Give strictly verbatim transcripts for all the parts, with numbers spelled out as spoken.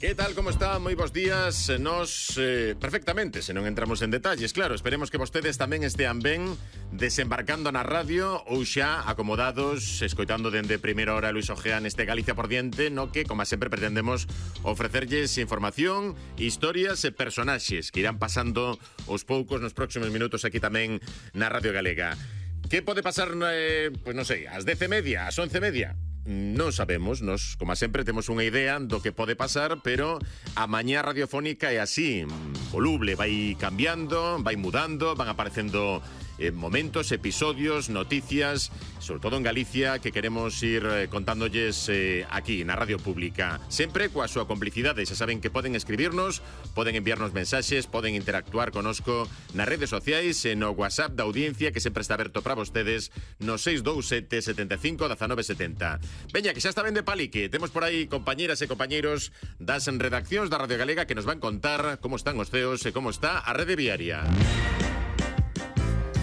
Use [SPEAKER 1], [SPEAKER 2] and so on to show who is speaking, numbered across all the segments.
[SPEAKER 1] Que tal, como está? Moi bons días. Nos, eh, perfectamente, se non entramos en detalles, claro. Esperemos que vostedes tamén estean ben desembarcando na radio ou xa acomodados, escoitando dende primeira hora Luis Ojea neste Galicia por diante, no que, como sempre, pretendemos ofrecerlles información, historias e personaxes que irán pasando aos poucos nos próximos minutos aquí tamén na Radio Galega. Que pode pasar, eh, pues non sei, ás dez e media, ás once e media? Non sabemos, nos, como sempre, temos unha idea do que pode pasar, pero a mañá radiofónica é así, voluble, vai cambiando, vai mudando, van aparecendo eh, momentos, episodios, noticias, sobre todo en Galicia, que queremos ir eh, contándoles eh, aquí, na Radio Pública. Sempre coa súa complicidade, xa saben que poden escribirnos, poden enviarnos mensaxes, poden interactuar conosco nas redes sociais e no WhatsApp da audiencia, que sempre está aberto para vostedes, no seis dous sete, sete cinco, uno nove sete zero. Veña, que xa está ben de palique. Temos por aí compañeras e compañeiros das redaccións da Radio Galega que nos van contar como están os ceos e como está a rede viaria.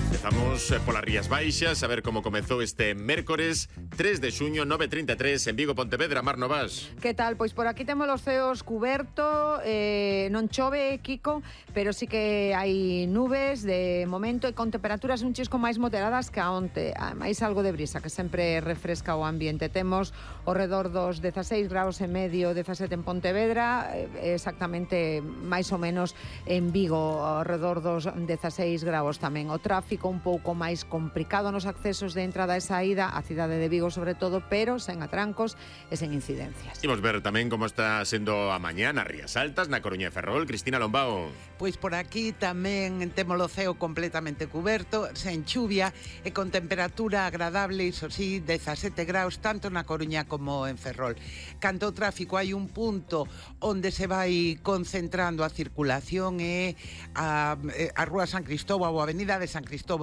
[SPEAKER 1] Empezamos polas Rías Baixas, a ver como comezou este mércores tres de xuño, nove e trinta e tres, en Vigo, Pontevedra. Mar Novas.
[SPEAKER 2] Que tal? Pois por aquí temos os ceos cuberto, eh, non chove, Kiko, pero sí que hai nubes de momento e con temperaturas un chisco máis moderadas que a onte. Máis algo de brisa, que sempre refresca o ambiente. Temos ao redor dos dezaseis graus e medio, dezasete en Pontevedra, exactamente máis ou menos en Vigo, ao redor dos dezaseis graus tamén. O tráfico un pouco máis complicado nos accesos de entrada e saída a cidade de Vigo sobre todo, pero sen atrancos e sen incidencias.
[SPEAKER 1] Imos ver tamén como está sendo a mañá nas Rías Altas, na Coruña e Ferrol. Cristina Lombao.
[SPEAKER 3] Pois por aquí tamén temos o ceo completamente cuberto, sen chuvia e con temperatura agradable, iso sí, dezasete graus tanto na Coruña como en Ferrol. Canto ao tráfico, hai un punto onde se vai concentrando a circulación e a, a Rúa San Cristóbal ou a Avenida de San Cristóbal